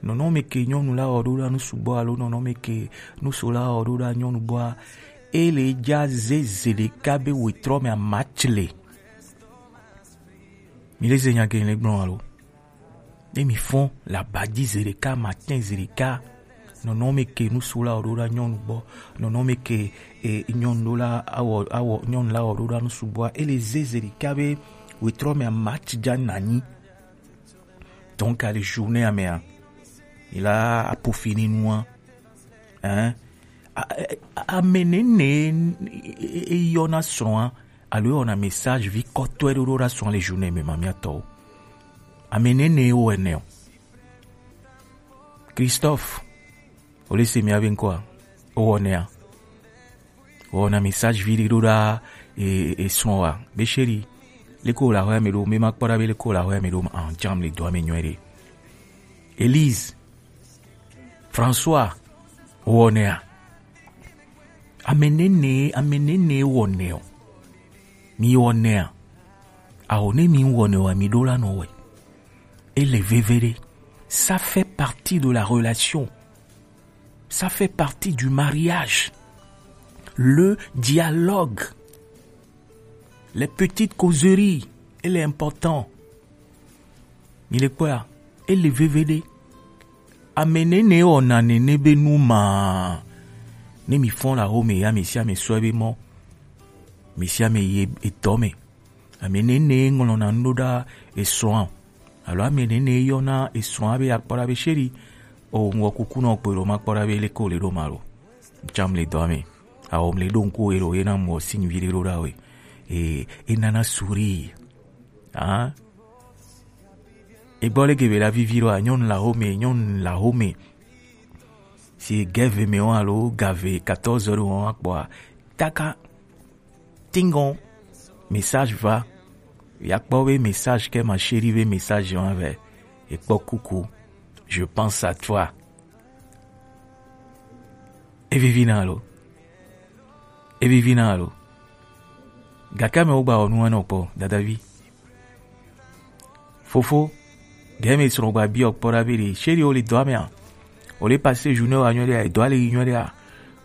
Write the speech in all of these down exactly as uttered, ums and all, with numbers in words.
Nɔnɔme ke nyɔnu la wɔ ɖo ɖa nu sugbɔ alo nɔnɔme ke nuso la wɔ ɖo ɖa nyɔnu gbɔa, ele ja ze zeɖeka be wetrɔ me amatsi le. Mi le ze nya ke le gblɔ alo? Ne mi fɔn la badzi zeɖeka, matin zeɖeka, nɔnɔme ke nuso la wɔ ɖo ɖa nyɔnu gbɔ, nɔnɔme ke e, nyɔnu ɖo la awɔ awɔ nyɔnu la wɔ ɖo ɖa nu sugbɔa, ele ze zeɖeka be wetrɔ me amatsi ja nanyi. Donc, à la journée, à mea, il a peaufiné nous, hein. A- a- Amenene eyɔna srɔ̃a alo ewɔna message vi kɔtɔe ɖo ɖo ɖa srɔ̃a le journée me, mamia tɔwo. Amenene ewɔ ene o. Christophe, o le se mia be ŋkɔa? Owɔ nea? Wɔna message vi ɖe ɖo ɖa e, e srɔ̃ wa be chéri, leke wòle ahɔa me ɖo? Me ma kpɔ ɖa be leke wòle ahɔa me ɖo ma, ah, jam le dɔa me nyuie ɖe. Elise, François, wɔnɛa? Ame nene, ame nene wɔnɛ o. Mi wɔnɛa? Aho ne mi wɔnɛ wa, mi ɖo la nɔ wɛ. Ele veve ɖe. Ça fait partie de la relation. Ça fait partie du mariage. Le dialogue. Les petites causeries, elle est important. Mi le kpɔa, ele veve ɖe. Ame nene wɔna nene be nu ma. Ne mi fɔn la home ya, ame sia ame sɔe be mɔ. Ame sia ame yi etɔ me. Ame nene ŋlɔna nu ɖo ɖa esrɔ̃a. Alo ame nene yɔna esrɔ̃a be akpɔ ɖa be chéri, o ŋgɔ kuku nɔ kpe ɖo ma kpɔ ɖa be leke wòle ɖo ma lo. Tsam le dɔa me. Awo mle ɖo ŋku elo yena mɔ signe vi ɖe ɖo ɖa we. E, e nana sourire. Ah. Egbɔ leke be la vivi ɖo a, nyɔnu la home, nyɔnu la home. Si gave me wa alo gave quatorze heures wa kpɔa. Taka. Tingon, message va. Ya kpɔ be message ke ma chérie be message wa vɛ. Ekpɔ kuku. Je pense à toi. Evivi na lo. Evivi na lo. Gake ame wo gba wɔ nu enɔ kpɔ, dadavi. Fofo, gɛmi srɔ̃ gba biɔ kpɔ ɖa be ɖe, chéri, wòle dɔa mea? Wòle passer journée wa nyuie ɖea? Edɔa le yi nyuie ɖea?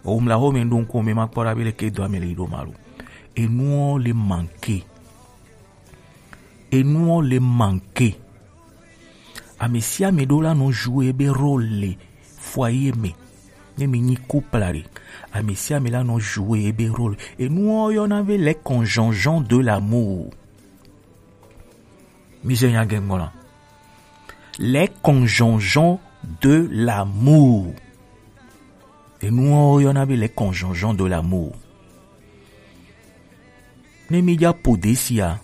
Womla home ɖo ŋku me ma kpɔ ɖa be leke dɔa me le yi ɖo ma lo. Enuwo le manquer. Enuwo le manquer. Ame sia ame ɖo la nɔ jouer ebe rôle le foyer me. Ne mi nyi couple ɖe, ame sia ame la nɔ jouer ebe rôle. Enuwo yɔna be les conjonjons de l'amour. Mi se nya ge ŋgɔ la. Les conjonjons de l'amour. Enuwo yɔna be les conjonjons de l'amour. Ne mi dza po desia,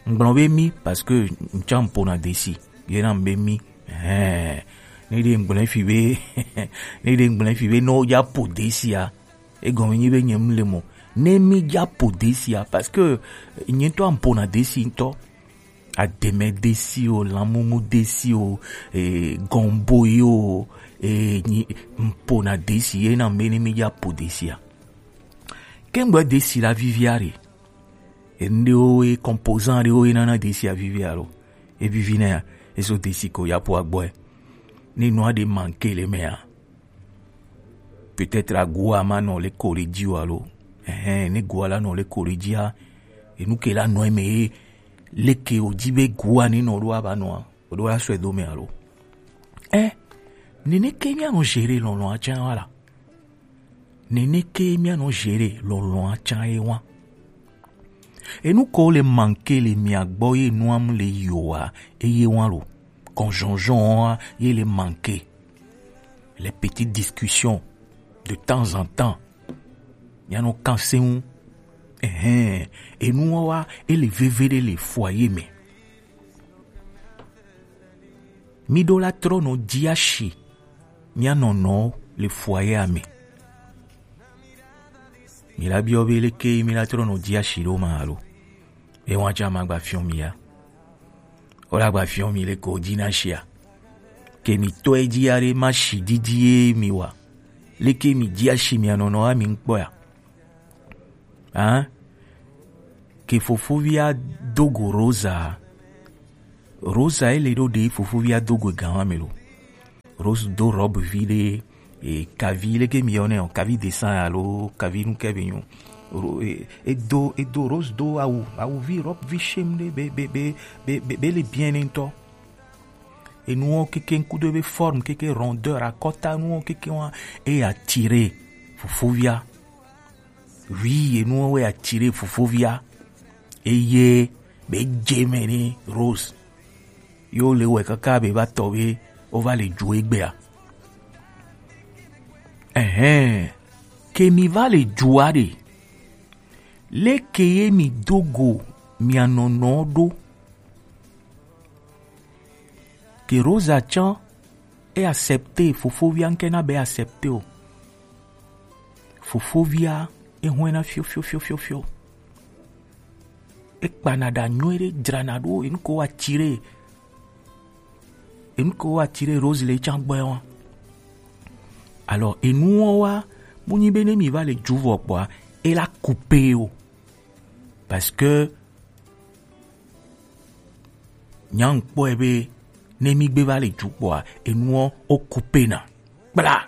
ŋgblɔ be mi, parce que ŋtsã ŋpona desi, yena be mi. Ɛhɛn. Ne ɖe ŋgblɔ fi be, ne ɖe ŋgblɔ fi be, ne wodza po desia, egɔme nyi be nye mu le mo. Ne mi dza po desia, parce que nye ŋutɔ ŋpona desi ŋutɔ. Ademe desi o, lamumu desi o, e, gɔmbo yi o, e, nyi ŋpona desi, yena be ne mi dza po desia. Kengbe desi la vivia ɖe. Enu ɖewo ye composant ɖewo ye nana desi avivi alo. Evivi nɛ ya, eso desi ko ya po agbɔe. Ne nua ɖe manquer le mea. Peut-être agua ma nɔ le ko le dzi o alo. Ɛhɛn, ne gua la nɔ le ko le dzia, enu ke la nɔ eme ye, leke o dzi be gua ne nɔ ɖo aba nɔa, o ɖo la sɔe do me alo. Ɛ, nene ke mia nɔ gérer lɔlɔ̃a tsã wa la. Nene ke mia nɔ gérer lɔlɔ̃a tsã ye wa. Enu ko le manquer le mia gbɔ ye nua mu le yoa, eye wa lo. Conjonjon wa ye le manquer. Les petites discussions de temps en temps. Mia nɔ kan se ŋu. Ɛhɛn, enu wa wa, ele veve ɖe le foyer me. Mi ɖo la trɔ nɔ dzi asi mia nɔnɔwo le foyer me. Mi la biɔ be leke mi la trɔ nɔ dzi asi ɖo ma alo? Ewa tsã ma gba fiɔ mi ya. O la gba fiɔ mi leke o dzi na sia. Ke mi tɔe dzi ya ɖe ma si didi ye mi wa. Leke mi dzi asi mia nɔnɔ wa mi ŋkpɔ ya. Hein? Ke fofovia do go Rosa. Rosa ele ɖo ɖe fofovia do go gan wa me lo. Rose do robe vi ɖe, e, kavi leke mi yɔnɛ o, kavi dessin alo kavi nu ke be nyo. Ro-, e, e do, e do Rose do awu, awu vi, robe vi shame ɖe be, be, be, be, be, be le bien ne ŋutɔ. Enuwo keke ŋkudo be forme keke rondeur akɔta nuwo keke wa e attirer fofovia. Oui, enuwo e attirer fofovia. Eye be dze me ne Rose. Yo le wɛ kaka be va tɔ be wo va le ju egbea. Ɛhɛn, ke mi va le jua ɖe. Leke ye mi do go mia nɔnɔ ɖo? Ke Rosa tsã e accepter, fofovia ŋke na be accepter o. Fofovia e hwɛna fio fio fio fio fio. E kpana ɖa nyuie ɖe, dzrana ɖo, enu ko wa attirer, enu ko wa attirer Rose le tsã gbɔe wa. Alors, enuwo wa, mu nyi be ne mi va le ju vɔ kpɔa, e la couper o. Parce que nyaŋkpɔe be ne mi gbe va le ju kpɔa, enuwo o couper na. Kpla.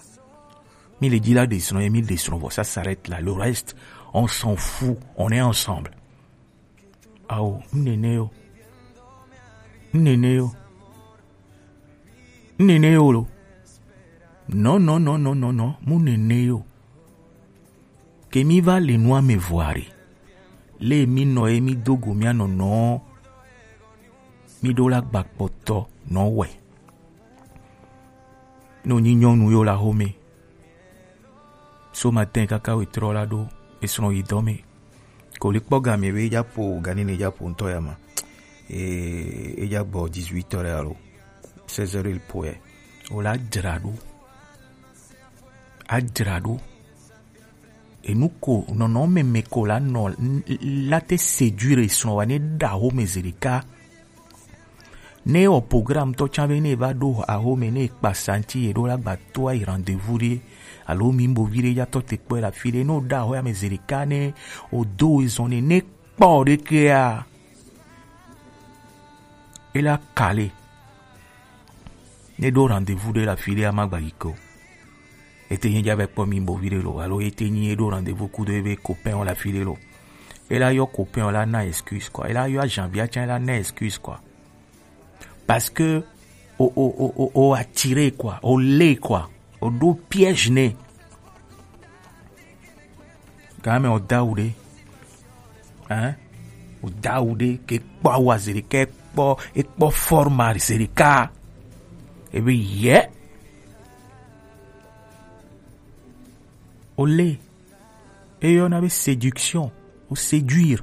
Mi le dzi la ɖe srɔ̃ ye, mi ɖe srɔ̃ vɔ, ça s'arrête là. Le reste, on s'en fout, on est ensemble. Ao, nene yo. Nene yo. Nene yo lo. Non, non, non, non, non, non, mu nene yo. Ke mi va le nua me vɔa ɖe. Le mi nɔ ye mi do go mia nɔnɔ. Mi ɖo la gba kpɔtɔ nɔ wɛ. No nyi nyɔnu yo la home. Ce matin kaka wetrɔ la ɖo esrɔ̃ yi dɔ me. Ko le kpɔ game be eja po gani ne eja po ŋutɔ ya ma. E, eja gbɔ dix-huit heures alo seize heures il po ye. O la dzra ɖo. A dzra ɖo. Enu ko nɔnɔme me ko la nɔ n-, n-, la te séduire esrɔ̃ wa ne ɖa home zeɖeka. Ne o programme tɔ tsã be ne va ɖo ahome ne kpa santi ye ɖo la gba to ayi rendez-vous ɖe alo mi bo vi ɖe ya tɔ te kpɔe la fi ɖe ne o ɖa ho ame zeɖeka ne o do ezɔne ne kpɔ ɖe kea e la kale ne ɖo rendez-vous ɖe la fi ɖe ama gba yi ko. Ete nyi dza be kpɔ mi bo vi ɖe lo alo ete nyi e ɖo rendez-vous kudo ebe copain o la fi ɖe lo. E la yɔ copain o la na excuse quoi. E la yɔ Janvier tsã e la na excuse quoi. Parce que o, o, o, o, o attiré quoi, o lé quoi, o ɖo piège nɛ. Game o dawu ɖe. Hein? O dawu ɖe ke kpɔ awu azeɖeka, kpɔ, e kpɔ forme azeɖeka. Ebe yɛ. O lé. E yɔna be séduction, o séduire.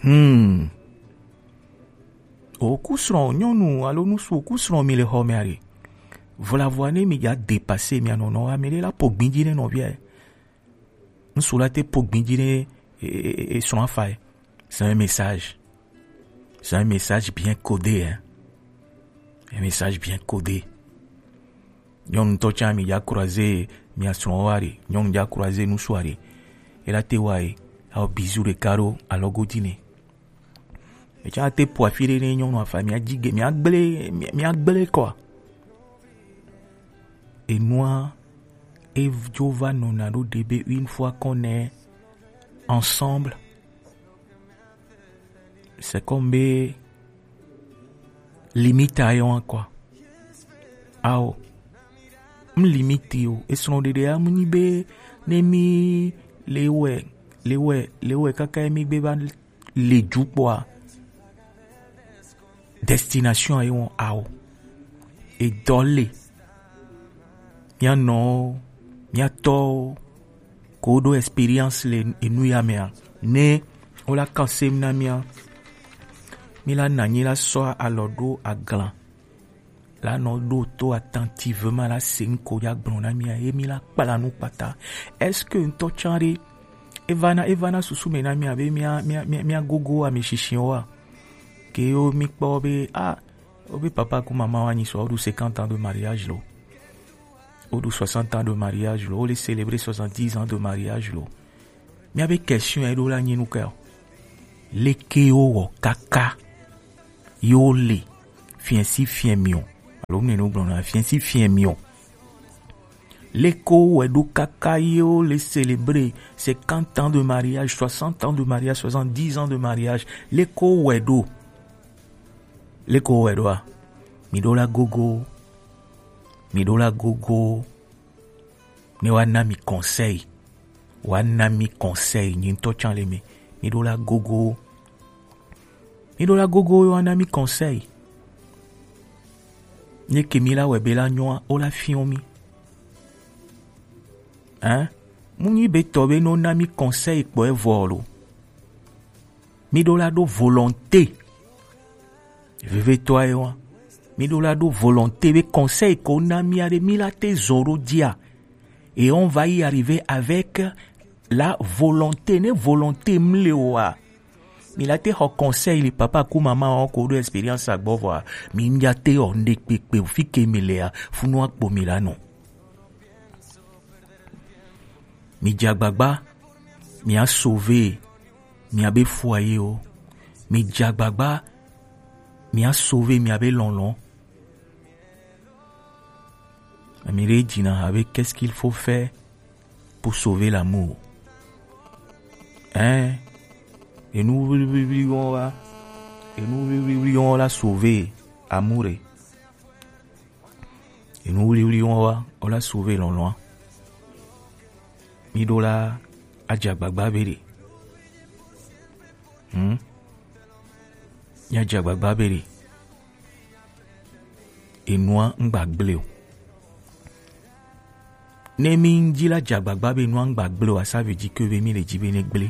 Hmm. Oku srɔ̃ nyɔnu alo ŋutsu oku srɔ̃ mi le xɔ me aɖe. Vɔlavɔa ne mi dza dépasser mia nɔnɔ, ame ɖe la po gbin dzi ne nɔvia ye. Ŋutsu la te po gbin dzi ne e, e, e, e srɔ̃ afa ye. C'est un message. C'est un message bien codé, hein. Un message bien codé. Nyɔnu tɔ tsã mi dza croiser mia srɔ̃ wa ɖe. Nyɔnu dza croiser ŋutsu aɖe. E la te wa ye. Ao bisou ɖeka ɖo alɔgo dzi nɛ. Etsã te po afi ɖe ne nyɔnu afa mia dzi ge, mia gblẽ, mia, mia gblẽ kɔa. Enua, e dzo va nɔna ɖo ɖe be une fois qu'on est ensemble, c'est comme be limite ayo quoi. Ao, m limite o, esrɔ̃ɖeɖe amu nyi be ne mi le wɛ, le wɛ, le wɛ kaka mi gbe va le ju kpɔa, destination ayi wɔn ao. Edɔ le. Mia nɔwo, mia tɔwo, ko ɖo expérience le enu ya mea, ne wo la kan sem na mia, mi la na nyi la sɔ alɔ ɖo aglan. La nɔ ɖo to attentivement la se nu ko ya gblɔ na mia ye mi la kpla nu kpata. Est-ce que ŋutɔ tsã ɖe evana, evana susu me na mia be mia, mia, mia, mia gogo ame shishi wa? Ke yo mi kpɔ be ah, wo be papa ku mama wa nyi sɔ, wo ɖu cinquante ans de mariage lo. Wo ɖu soixante ans de mariage lo. Wo le célébrer soixante-dix ans de mariage lo. Mia be question e ɖo la nyi nu ke o. Leke wo wɔ kaka yo le fiɛ si fiɛ mi o. Alo nene wo gblɔna, fiɛ si fiɛ mi o. Leko wɛ ɖo kaka ye wo le célébrer cinquante ans de mariage, soixante ans de mariage, soixante-dix ans de mariage. Leko wɛ ɖo. Leko wɛ ɖoa? Mi ɖo la gogo. Mi ɖo la gogo. Ne wa na mi conseil. Wa na mi conseil. Nyi ŋutɔ tsan le mi. Mi ɖo la gogo. Mi ɖo la gogo ye wa na mi conseil. Ne ke mi la wɛ be la nyɔa, o la fiɔ mi. Hein? Mu nyi be tɔ be no na mi conseil kpɔ evɔ lo. Mi ɖo la ɖo volonté. Vevetɔ ye wa. Mi ɖo la ɖo volonté be conseil ko na mi a ɖe mi la te zɔ ɖo dia. Et on va y arriver avec la volonté. Ne volonté mle wa. Mi la te xɔ conseil li papa ku mama o ko ɖo expérience agbɔ vɔa. Mi ŋdza te ɔ ŋɖe kpekpe o fi ke mi lea. Funu akpo mi la nɔ. Mi dze agbagba, mi a sauver miabe foyer o. Mi dze agbagba, mi a sauver miabe lɔlɔ. Ami ɖe dzina habe, qu'est-ce qu'il faut faire pour sauver l'amour? Hein? Enu wliwliwli wɔn wa, enu wliwliwli wɔn la sauver amour ɖe. Enu wliwli wɔn wa, o la sauver lɔlɔa. Mi ɖo la adze agbagba be ɖe. Hmm? Mi adze agbagba be ɖe. Enua ŋgba gble o. Ne mi ŋdzi la dze agbagba be enua ŋgba gble o, asa ve dzi ke be mi le dzi be ne gble.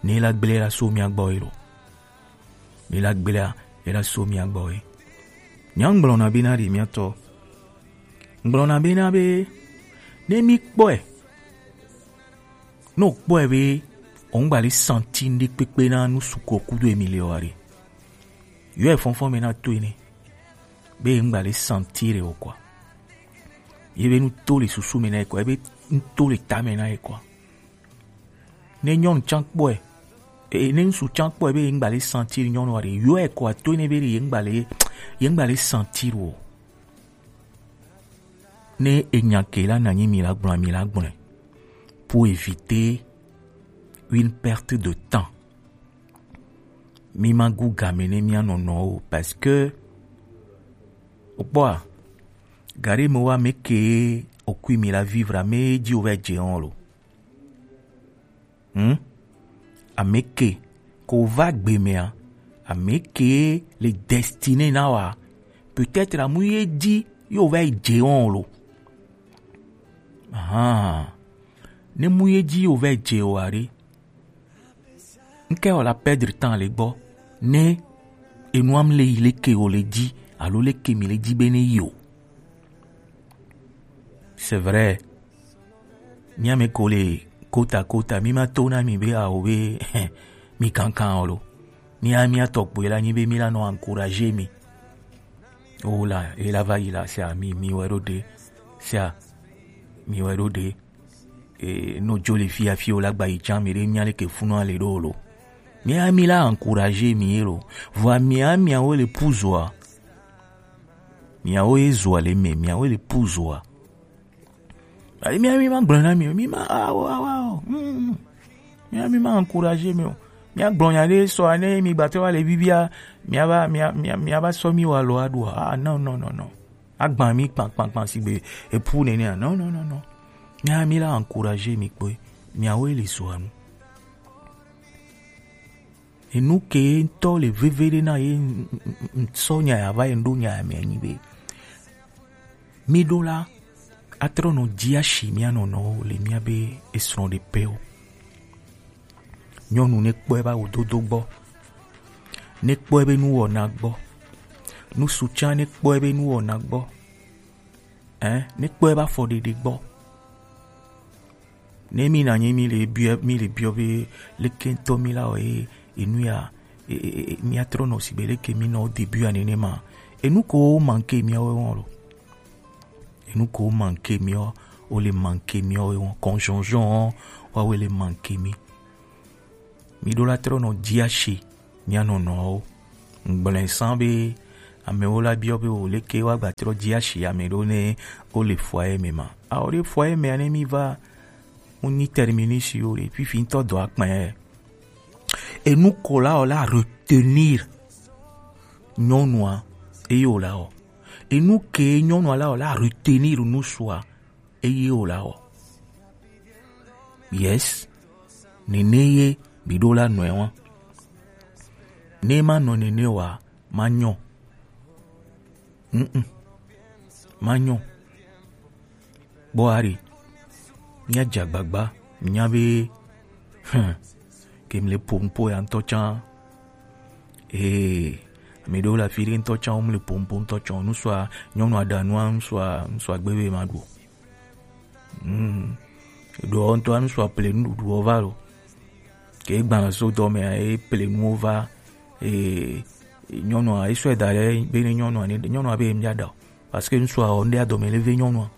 Ne la gble la so mia gbɔ ye lo. Mi la gblea, e la so mia gbɔ ye. Nya ŋgblɔna be na ɖi mia tɔ. Ŋgblɔna be na be, ne mi kpɔe. Ne o kpɔe be, o ŋgba le santi ŋɖe kpekpe na nu suku kudo emi le wa ɖe. Yɔ e fɔnfɔn me na to ene. Be ŋgba le santi ɖe o kɔa. Ye be nu to le susu me na ye kɔa, ye be nu to le ta me na ye kɔa. Ne nyɔnu tsan kpɔe, e, ne ŋsu tsan kpɔe be ye ŋgba le santi nyɔnu wa ɖe, yɔ e kɔa to ene be ɖe ye ŋgba le, ye ŋgba le santi o. Ne enya ke la na nyi mi la gblɔ, mi la gblɔ. Pour éviter une perte de temps. Mi ma gu game ne mia nɔnɔ o, parce que, o kpɔa, gari me wa me ke o kui mi la vivre, me dzi o va dze on lo. Hmm? Ame ke ko va gbe mea, ame ke le destiné na wa. Peut-être amu ye dzi yo va dze on lo. Ah. Ne mu ye dzi yo va dze o are. Nke o la perdre temps le gbɔ. Ne enuam le yi le ke o le dzi, alo le ke mi le dzi be ne yi o. C'est vrai. Mía me ko le kota kota, mi ma to na mi be awo be mi kankan o lo. Mía, mía tɔkpɔe la nyi be mi la nɔ encourager mi. O la, e la va yi la, sia mi, mi wɛ ɖo ɖe. Sia mi wɛ ɖo ɖe. E, no jo le fia fi o la gba yi tsan mi ɖe mía le ke funu ale ɖo o lo. Mía mi la encourager mi ye lo. Vɔa mía, mía wo le puzoa. Mía wo ye zoa le me, mía wo le puzoa. Ayi, mía mi ma gblɔ na mi o, mi ma, awo, awo, awo. Mm, mm. Mía mi ma encourager mi o. Mía gblɔ nya ɖe sɔ ne mi gbatɔ wa le bibia, mía va, mía, mía, mía va sɔ mi wa lo aɖu. Ah, non, non, non, non. Agba mi kpan, kpan, kpan sigbe epu nene. Non, non, non, non. Mía mi la encourager mi kpɔe. Mía wo le sɔ anu. Enu ke ŋutɔ le veve ɖe na ye n-, n-, n-, ŋsɔ nya ya va ye ŋɖo nya ya me anyi be. Mi ɖo la, atrɔ nɔ dzi asi mía nɔnɔwo le mía be esrɔ̃ ɖe pɛwo. Nyɔnu ne kpɔe va wò dodo gbɔ. Ne kpɔe be nu wɔna gbɔ. Ŋsu tsa ne kpɔe be nu wɔna gbɔ. Hein? Ne kpɔe va fɔ ɖeɖe gbɔ. Ne mi na nyi mi le biɔ, mi le biɔ be leke ŋutɔ mi la wɔ ye, enu ya, e, e, e, mía trɔ nɔ sigbe leke mi nɔ au début ya nene ma. Enu ko manque miawo wɔn lo. Enu ko manque miawo, o le manque miawo wɔn. Conjonjon, wa we le manque mi. Mi ɖo la trɔ nɔ dzi asi mía nɔnɔwo. Ŋgblɔe sã be Amewo la biɔ be wo leke woagba trɔ dzi asi ame ɖo ne wo le foyer me ma. Ao ɖe foyer me ne mi va, mu ni terminus yo ɖe, fifi ŋutɔ dɔ akpɛ. Enu ko la o la retenir nyɔnua eye o la o. Enu ke nyɔnua la o la retenir ŋutsua eye o la o. Yes, nene ye mi ɖo la nɔe wa. Ne ma nɔ nene wa, ma nyɔ. Mm-mm. Ma nyɔ. Kpɔ ari. Mía dze agbagba. Mía be, hmm, ke mi le po nupo ya ŋutɔ tsã. Ee, mi ɖewo le afi ɖe ŋutɔ tsã, wo mi le po nupo ŋutɔ tsã. Nusua, nyɔnua ɖa nua, nusua, nusua gbe be ma ɖu o. Mm. Ɖoa ŋutɔ nusua ple nuɖuɖuwo va lo. Ke gbalẽ so dɔ me, e ple nuwo va. E, nyɔnua, e sɔe da ɖe, be ne nyɔnua, ne, nyɔnua be ye mía ɖa o. Parce que ŋutsua wɔ ŋɖe adɔme le ve nyɔnua.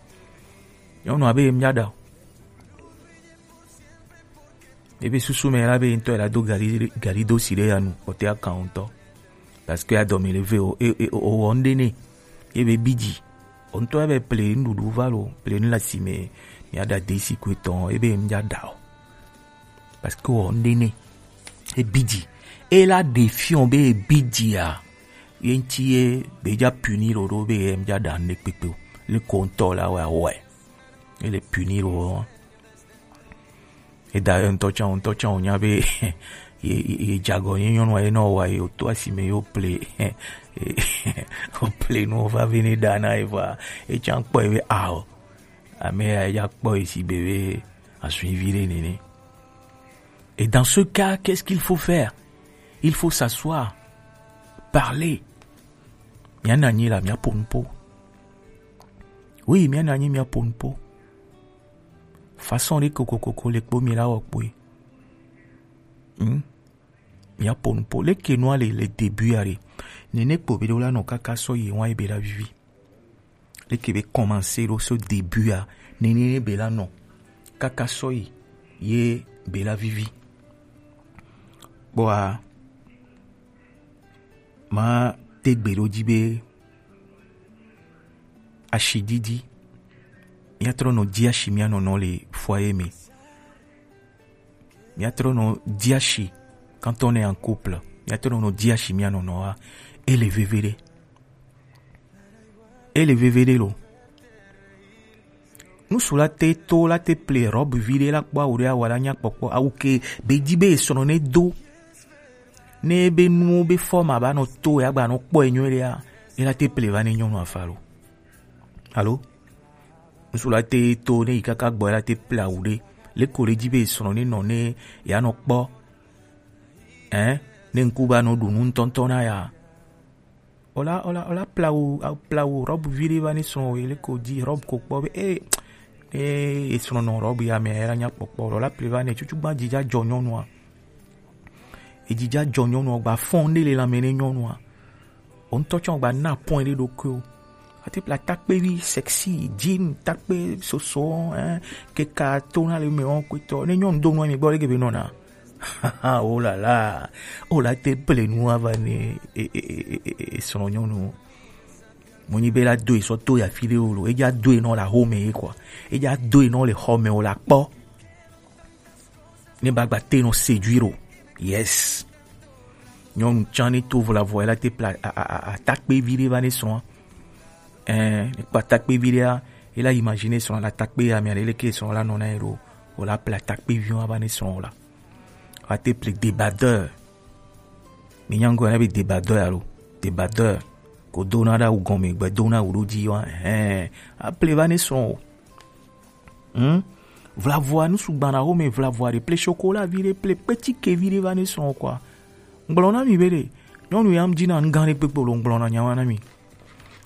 Nyɔnua be ye mía ɖa o. Ebe susu me la be ŋutɔ la do gari, gari do si ɖe ya nu, o te akan ŋutɔ. Parce que adɔme le ve o, e, e, o wɔ ŋɖe ne. Ebe bidzi. O ŋutɔ ebe ple nuɖuɖu va lo, ple nu le asi me, mía ɖa de si ko etɔn, ebe ye mía ɖa o. Parce que wɔ ŋɖe ne. E bidzi. E la ɖe fiɔ be e bidzi a. Ye ŋuti ye be dza puni lo ɖo be ye mía ɖa ŋɖe kpekpe o. Le ko ŋutɔ la wɔ awɔe. Ele puni lo. Eda ye ŋutɔ tsã, ŋutɔ tsã wònya be ye, ye, ye dze agɔ nye nyɔnua ye nɔ wa ye wòto asi me ye wòple, wòple nuwo va vɛ ne ɖa na ye vɔa, ye tsã kpɔe be ao, ame ya ya kpɔ ye si be be azui vi ɖe nene. Et dans ce cas, qu'est-ce qu'il faut faire? Il faut s'asseoir, parler. Mía nɔ anyi la, mía po nupo. Oui, mía nɔ anyi, mía po nupo. Façon ɖe kokokoko le kpo mi la wɔ kpoe. Hmm? Mía po nupo. Leke nua le, le début ya ɖe. Nene kpo be ɖo la nɔ kaka sɔ yi wa be la vivi. Leke be commencer ɖo so début ya. Nene be la nɔ kaka sɔ yi ye be la vivi. Kpɔa, ma te gbe ɖo dzi be ashi didi. Mía trɔ nɔ dzi ashi mía nɔnɔ le foyer me. Mía trɔ nɔ dzi ashi quand on est en couple. Mía trɔ nɔ dzi ashi mía nɔnɔ wa. Ele veve ɖe. Ele veve ɖe lo. Ŋutsu la te to la te ple robe vi ɖe la kpɔ awu ɖe awa la nya kpɔkpɔ. Awu ke be dzi be esrɔ̃ ne do. Ne be nuwo be forme aba nɔ to ya gba nɔ kpɔ enyɔ ɖe ya. Ela te ple va ne nyɔnu afa lo. Alo? Ŋutsu la te to ne yi kaka gbɔ la te ple awu ɖe. Le ko le dzi be esrɔ̃ ne nɔ ne ya nɔ kpɔ. Hein? Ne ŋku ba nɔ ɖu nu ŋutɔŋutɔ na ya. Ola, ola, ola plawo, a-, plawo robe vi ɖe va ne srɔ̃ wo, ele ko dzi robe ko kpɔ be, eh, eh, esrɔ̃ nɔ robe ya me, era nya kpɔkpɔ, ola ple va ne, tutu gba dzidza dzɔ nyɔnua. Edzidza dzɔ nyɔnua, gba fɔn ɖe le lãme ne nyɔnua. O ŋutɔ tsɔ gba na point ɖe ɖokuiwo. Ate ple atakpevi sexy, jean, takpe soso, hein, keka to na le me wɔn kwetɔ. Ne nyɔnu do nua mi gbɔ ɖe ke be nɔna. Oh là là. O la te ple nu ava ne e, e, e, e, e, e, srɔ̃ nyɔnu. Mo nyi be la do e sɔ to ya fi ɖe o lo. Edza do e nɔ la home ye kɔa. Edza do e nɔ le xɔ me o la kpɔ. Ne ba gba te nɔ séduire o. Yes. Nyɔnu tsã ne to vɔ la vɔ, ela te ple a, a, a, atakpe vi ɖe va ne srɔ̃a. Ɛɛ, ne kpɔ atakpe vi ɖea, ela imagine srɔ̃a la takpe ya, mi ale leke srɔ̃a la nɔ na ye ɖo. O la ple atakpe vi wa va ne srɔ̃a o la. Wa te ple débardeur. Mi nya ŋgɔ na be débardeur alo. Débardeur. Ko do na ɖe awu gɔme, gbe do na awu ɖo dzi wa. Ɛɛ, a ple va ne srɔ̃a o. Hmm? Vlavua, nu sugbana wo me vlavua ɖe, ple chocolat vi ɖe, ple kpetike vi ɖe va ne srɔ̃ kɔa. Ŋgblɔ na mi be ɖe, nyɔnu ya ŋdzi na nu gã ɖe kpekpe lo, ŋgblɔ na nyawa na mi.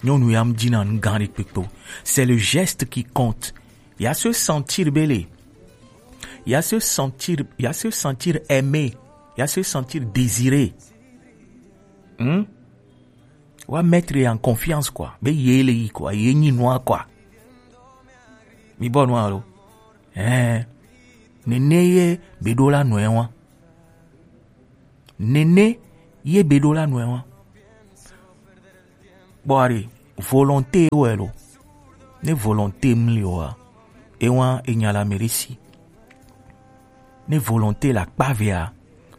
Nyɔnu ya ŋdzi na nu gã ɖe kpekpe o. C'est le geste qui compte. Ya se sentir bele. Ya se sentir, ya se sentir aimé. Ya se sentir désiré. Hmm? Wa mettre en confiance quoi. Be ye le yi quoi. Ye nyi nua quoi. Mi bɔ nua lo. Eh. Nene ye be ɖo la nɔe wa. Nene ye be ɖo la nɔe wa. Kpɔ ɖe, volonté wɛ lo. Ne volonté mli oa, ewa enya la meresi. Ne volonté la kpavea,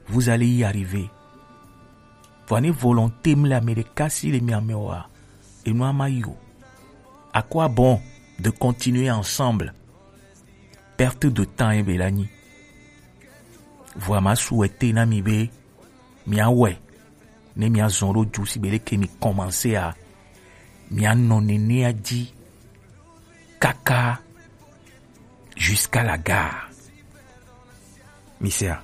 vous allez y arriver. Vɔ ne volonté mli ame ɖeka si le mia me oa, enua ma yi o. À quoi bon de continuer ensemble? Perte de temps ye be la nyi. Vɔa ma su wɛ te na mi be mia wɛ ne mia zɔn ɖo ju si be leke mi commencer a, mia nɔ nenea ji kaka jusqu'à la gare. Mi se a?